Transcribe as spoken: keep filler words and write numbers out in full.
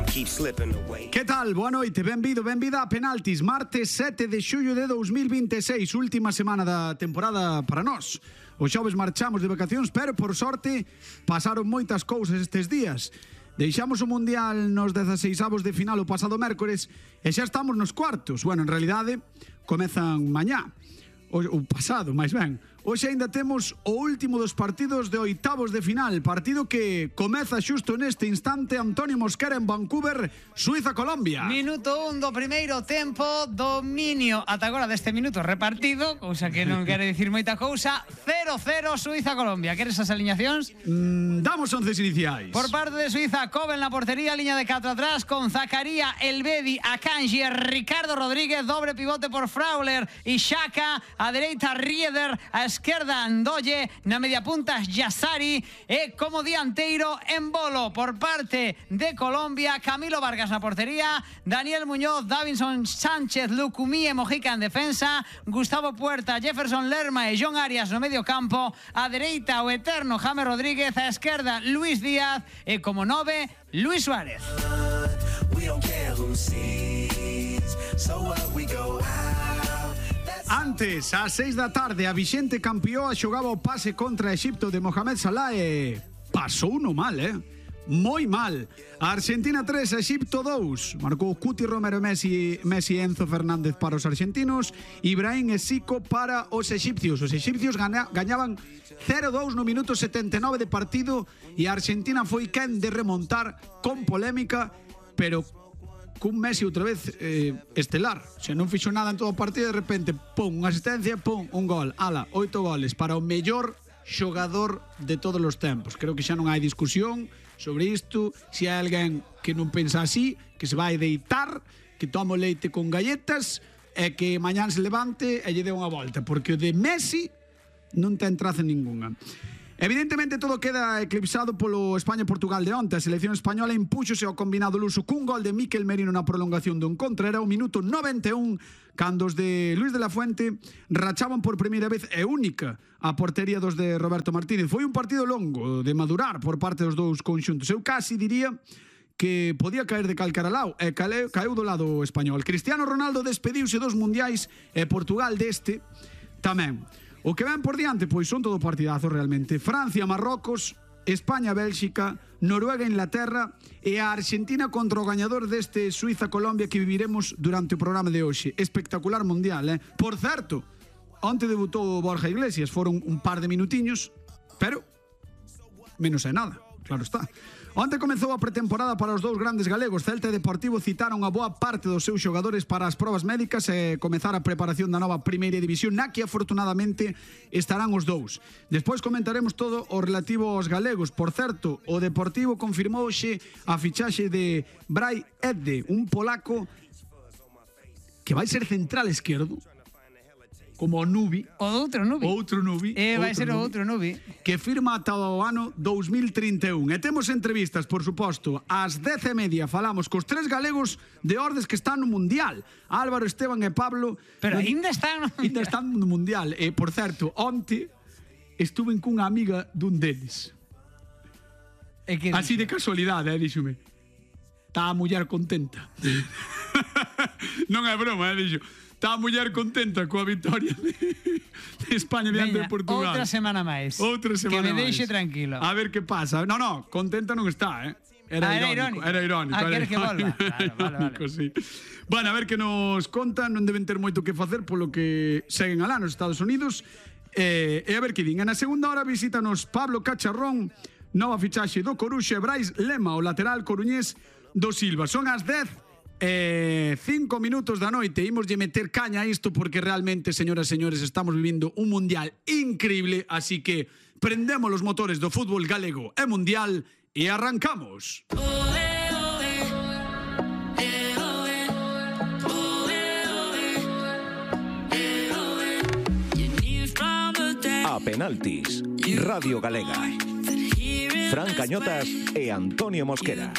Que tal? Boa noite, benvido, benvida a Penaltis. Martes sete de xullo de dous mil vinte e seis, última semana da temporada para nós. Os xoves marchamos de vacacións, pero por sorte pasaron moitas cousas estes días. Deixamos o Mundial nos dezaseisavos de final o pasado mércores e xa estamos nos cuartos. Bueno, en realidade, comezan mañá. O, o pasado, máis ben. Hoxe ainda temos o último dos partidos de oitavos de final. Partido que comeza xusto neste instante. Antonio Mosquera en Vancouver, Suiza-Colombia. Minuto un do primeiro tempo. Dominio ata agora deste minuto repartido, cousa que non quere dicir moita cousa. cero cero Suiza-Colombia. Queres as aliñacións? Mm, damos onces iniciais. Por parte de Suiza, Kobe en la portería, liña de catro atrás con Zakaria, Elvedi, Akanji, Ricardo Rodríguez, dobre pivote por Frauler e Xhaka, a dereita Rieder, a esquerda Ndoye, na media punta Yassari e como dianteiro Embolo. Por parte de Colombia, Camilo Vargas na portería, Daniel Muñoz, Davinson Sánchez, Lucumí e Mojica en defensa, Gustavo Puerta, Jefferson Lerma e John Arias no medio campo, a dereita o eterno James Rodríguez, a esquerda Luis Díaz e como nove Luis Suárez. Antes, ás seis da tarde, a Vixente Campioa xogaba o pase contra Exipto de Mohamed Salah e pasou no mal, eh? Moi mal. A Argentina tres, a Exipto dous. Marcou Cuti, Romero, Messi, Messi e Enzo Fernández para os argentinos, Ibrahim e Zico para os exipcios. Os exipcios gana, gañaban cero dous no minuto setenta e nove de partido e a Argentina foi quen de remontar con polémica, pero cun Messi outra vez eh, estelar. Se non fixo nada en todo o partido, de repente, pum, unha asistencia, pum, un gol. Ala, oito goles para o mellor xogador de todos os tempos. Creo que xa non hai discusión sobre isto. Se hai alguén que non pensa así, que se vai deitar, que toma leite con galletas e que mañán se levante e lle dé unha volta, porque o de Messi non ten traza ninguna. Evidentemente todo queda eclipsado polo España-Portugal de onte. A selección española impúxose ao combinado luso cun gol de Mikel Merino na prolongación do encontro. Era o minuto noventa e un cando os de Luis de la Fuente rachaban por primeira vez e única a portería dos de Roberto Martínez. Foi un partido longo de madurar por parte dos dous conxuntos. Eu casi diría que podía caer de calcara lado e caeu, caeu do lado español. Cristiano Ronaldo despediuse dos mundiais e Portugal deste tamén. O que ven por diante, pois son todo partidazos realmente. Francia, Marrocos, España, Bélxica, Noruega, Inglaterra e a Argentina contra o gañador deste Suiza-Colombia que viviremos durante o programa de hoxe. Espectacular mundial, eh? Por certo, onte debutou Borja Iglesias, foron un par de minutiños, pero menos é nada, claro está. Onte comezou a pretemporada para os dous grandes galegos. Celta e Deportivo citaron a boa parte dos seus xogadores para as probas médicas e comezar a preparación da nova primeira división, na que afortunadamente estarán os dous. Despois comentaremos todo o relativo aos galegos. Por certo, o Deportivo confirmou hoxe a fichaxe de Brai Edde, un polaco que vai ser central esquerdo, como o Nubi. O outro Nubi. Outro Nubi. E vai ser o outro Nubi. Que firma ata o ano dous mil trinta e un. E temos entrevistas, por suposto. Ás dez e media falamos cos tres galegos de Ordes que están no Mundial. Álvaro, Esteban e Pablo. Pero ainda están no Mundial. Ainda están no Mundial. E, por certo, onte estuve cunha amiga dun deles. E que así de casualidade, eh, díxome. Está a muller contenta. Non é broma, eh, dixo. Está a muller contenta coa victoria de, de España diante de Portugal. Outra semana máis. Outra semana máis. Que me deixe máis. tranquilo. A ver que pasa. No, no, contenta non está, eh. Era, ah, era irónico, irónico. Era irónico. Ah, era queres que volva. Claro, vale, irónico, vale. sí. Bueno, a ver que nos contan. Non deben ter moito que facer polo que seguen alá nos Estados Unidos. Eh, e a ver que din. Na segunda hora visítanos Pablo Cacharrón, nova fichaxe do Coruxa, e Brais Lema, o lateral coruñés do Silva. Son as dez Eh, cinco minutos da noite. Imos lle meter caña a isto porque realmente, señoras e señores, estamos vivindo un mundial increíble. Así que prendemos los motores do fútbol galego e mundial e arrancamos. A Penaltis, Radio Galega. Fran Cañotas e Antonio Mosquera.